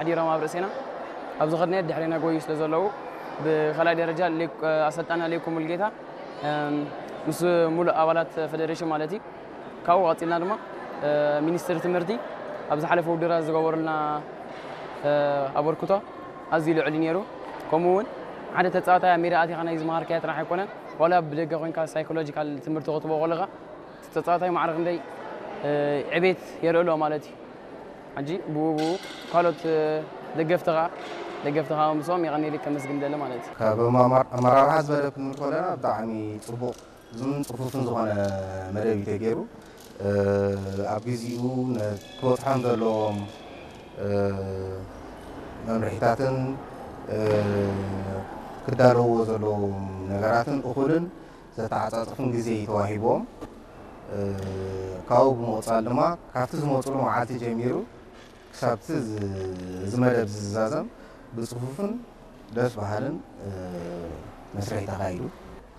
ሓዲሮም ኣብ ርእሴና ኣብ ዝኸድናዮ ድሕሬና ጎዩ ስለ ዘለዉ ብኻልኣይ ደረጃ ኣሰልጣና ሌኩ ሙልጌታ ምስ ሙሉእ ኣባላት ፌደሬሽን ማለት እዩ። ካብኡ ቀፂልና ድማ ሚኒስትሪ ትምህርቲ ኣብ ዝሓለፈ ውድድራት ዝገበሩልና ኣበርክቶ ኣዝዩ ልዑል እዩ ነይሩ። ከምኡ እውን ሓደ ተፃዋታይ ኣብ ሜዳ ኣቲኻ ናይ ዝመሃርካዮ ጥራሕ ኣይኮነን፣ ዋላ ብደገ ኮይንካ ሳይኮሎጂካል ትምህርቲ ክትቦ ከለኻ እቲ ተፃዋታይ ማዕረ ክንደይ ዕቤት የርእሎ ማለት እዩ። ሕጂ ብኡ ብኡ ካልኦት ደገፍትኻ ደገፍትኻ ምስኦም የቐኒለይ ከመስግን ደሊ ማለት እዩ። ካብ ኣመራርሓ ዝበለ ክንብል ከለና ብጣዕሚ ፅቡቕ እዙን ፅፉፍን ዝኾነ መደብ እዩ ተገይሩ። ኣብ ግዚኡ ክበፅሖም ዘለዎም መምርሒታትን ክዳለውዎ ዘለዎም ነገራትን እኹልን ዘተዓፃፅፍን ግዜ እዩ ተዋሂቦም። ካብኡ ብምቕፃል ድማ ካብቲ ዝመፅሉ መዓልቲ ጀሚሩ ክሳብቲ እዚ መደብ ዝዛዘም ብፅፉፍን ደስ በሃልን መስርሕ ተኻይዱ።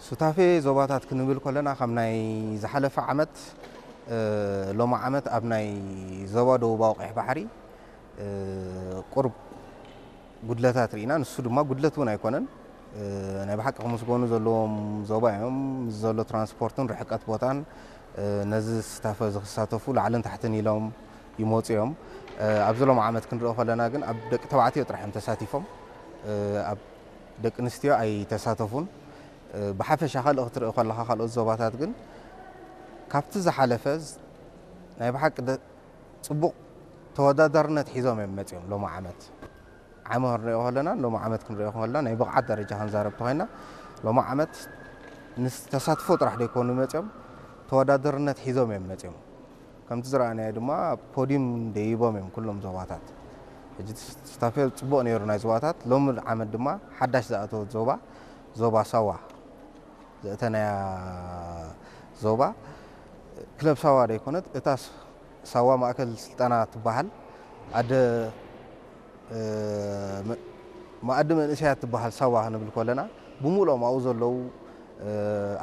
ሱታፌ ዞባታት ክንብል ከለና ካብ ናይ ዝሓለፈ ዓመት ሎሚ ዓመት ኣብ ናይ ዞባ ደቡባዊ ቀይሕ ባሕሪ ቁርብ ጉድለታት ርኢና፣ ንሱ ድማ ጉድለት እውን ኣይኮነን። ናይ ብሓቂ ክምስገኑ ዘለዎም ዞባ እዮም። ምስ ዘሎ ትራንስፖርትን ርሕቀት ቦታን ነዚ ስታፈ ዝክሳተፉ ላዕልን ታሕትን ኢሎም ይመፁ እዮም። ኣብዚ ሎም ዓመት ክንሪኦ ከለና ግን ኣብ ደቂ ተባዕትዮ ጥራሕ እዮም ተሳቲፎም፣ ኣብ ደቂ ኣንስትዮ ኣይተሳተፉን። ብሓፈሻ ካልእ ክትርኢ ከለካ ካልኦት ዞባታት ግን ካብቲ ዝሓለፈ ናይ ብሓቂ ፅቡቕ ተወዳዳርነት ሒዞም እዮም መፂኦም ሎም ዓመት ዓመ ክንሪኦ ከለና ሎም ዓመት ክንሪኦ ከለና ናይ ብቕዓት ደረጃ ክንዛረብ ተኮይና ሎም ዓመት ንተሳትፎ ጥራሕ ደይኮኑ መፂኦም ተወዳዳርነት ሒዞም እዮም መፂኦም። ከምቲ ዝረኣናዮ ድማ ፖዲም ደይቦም እዮም ኩሎም ዞባታት። ሕጂ ስታፌ ፅቡቕ ነይሩ ናይ ዞባታት። ሎሚ ዓመት ድማ ሓዳሽ ዝኣተወት ዞባ ዞባ ሳዋ ዘእተናያ ዞባ ክለብ ሳዋ ደይኮነት እታ ሳዋ ማእከል ስልጠና ትበሃል ኣደ መኣዲ መንእሰያት ትበሃል ሳዋ ክንብል ከለና ብሙሉኦም ኣብኡ ዘለዉ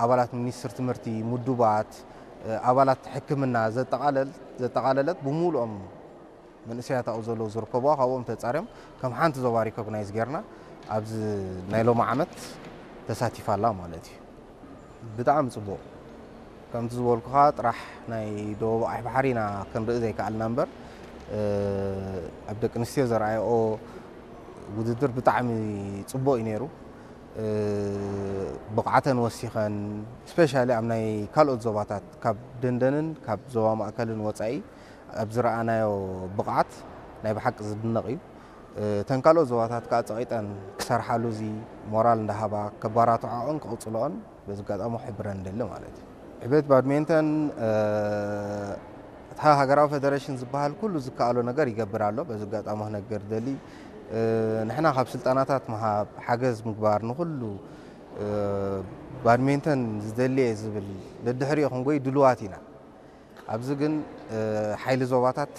ኣባላት ሚኒስትር ትምህርቲ፣ ምዱባት፣ ኣባላት ሕክምና ዘጠቓለለት ብሙሉኦም መንእሰያት ኣብኡ ዘለዉ ዝርከብዋ ካብኦም ተፃርዮም ከም ሓንቲ ዞባ ሪኮግናይዝ ጌርና ኣብዚ ናይ ሎሚ ዓመት ተሳቲፋ ኣላ ማለት እዩ። ብጣዕሚ ፅቡቕ። ከምቲ ዝበልኩኻ ጥራሕ ናይ ደቡብ ኣይ ባሕሪ ኢና ክንርኢ ዘይከኣልና እምበር ኣብ ደቂ ኣንስትዮ ዘርኣየኦ ውድድር ብጣዕሚ ፅቡቕ እዩ ነይሩ። ብቕዓተን ወሲኸን ስፔሻሊ ኣብ ናይ ካልኦት ዞባታት ካብ ደንደንን ካብ ዞባ ማእከልን ወፃኢ ኣብ ዝረኣናዮ ብቕዓት ናይ ብሓቂ ዝድነቕ እዩ። እተን ካልኦት ዞባታት ከዓ ፀቒጠን ክሰርሓሉ እዚ ሞራል እንዳሃባ ከባራትዖኦን ክቕፅልኦን በዚ ኣጋጣሚ ክሕብረን ንደሊ ማለት እዩ። ዕቤት ባድሜንተን እታ ሃገራዊ ፌደሬሽን ዝበሃል ኩሉ ዝከኣሎ ነገር ይገብር ኣሎ። በዚ ኣጋጣሚ ክነገር ደሊ ንሕና ካብ ስልጠናታት ምሃብ ሓገዝ ምግባር ንኩሉ ባድሜንተን ዝደልየ ዝብል ደድሕሪኦ ክንጎይ ድልዋት ኢና። ኣብዚ ግን ሓይሊ ዞባታት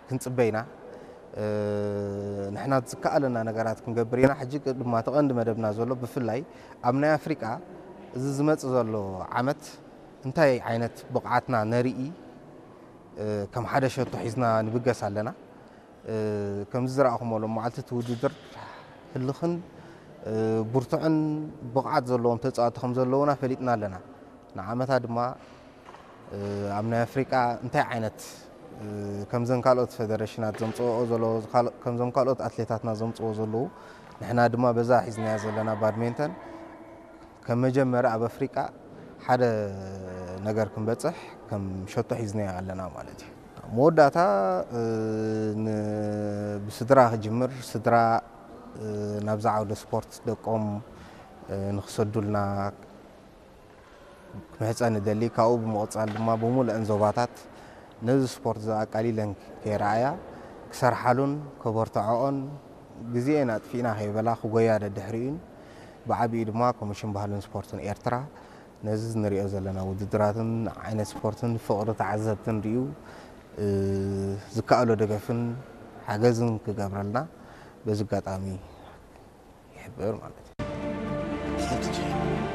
ክንፅበ ኢና። ንሕና ዝከኣለና ነገራት ክንገብር ኢና። ሕጂ ድማ እቲ ቀንዲ መደብና ዘሎ ብፍላይ ኣብ ናይ ኣፍሪቃ እዚ ዝመፅእ ዘሎ ዓመት እንታይ ዓይነት ብቕዓትና ነርኢ ከም ሓደ ሸቶ ሒዝና ንብገስ ኣለና። ከምዚ ዝረኣኹሞ ሎም መዓልቲ እቲ ውድድር ህልኽን ብርቱዕን ብቕዓት ዘለዎም ተፃወቲ ከም ዘለዉና ፈሊጥና ኣለና። ንዓመታ ድማ ኣብ ናይ ኣፍሪቃ እንታይ ዓይነት ከምዘን ካልኦት ፌደሬሽናት ዘምፅኦ ዘሎ ከምዞም ካልኦት ኣትሌታትና ዘምፅዎ ዘለዉ ንሕና ድማ በዛ ሒዝናያ ዘለና ባድሜንተን ከም መጀመሪ ኣብ ኣፍሪቃ ሓደ ነገር ክንበፅሕ ከም ሸቶ ሒዝናያ ኣለና ማለት እዩ። መወዳእታ ብስድራ ክጅምር ስድራ ናብዛ ዓውደ ስፖርት ደቆም ንክሰዱልና ክምሕፀን እደሊ። ካብኡ ብምቕፃል ድማ ብምሉአን ዞባታት ነዚ ስፖርት እዚ ኣቃሊለን ከይረኣያ ክሰርሓሉን ከበርትዖኦን ግዜኤን ኣጥፊእና ከይበላ ክጎያ ደድሕሪኡን ብዓቢኡ ድማ ኮሚሽን ባህልን ስፖርትን ኤርትራ ነዚ ንሪኦ ዘለና ውድድራትን ዓይነት ስፖርትን ፍቕሪ ተዓዘብትን ሪኡ ዝከኣሎ ደገፍን ሓገዝን ክገብረልና በዚ ኣጋጣሚ ይሕብር ማለት እዩ።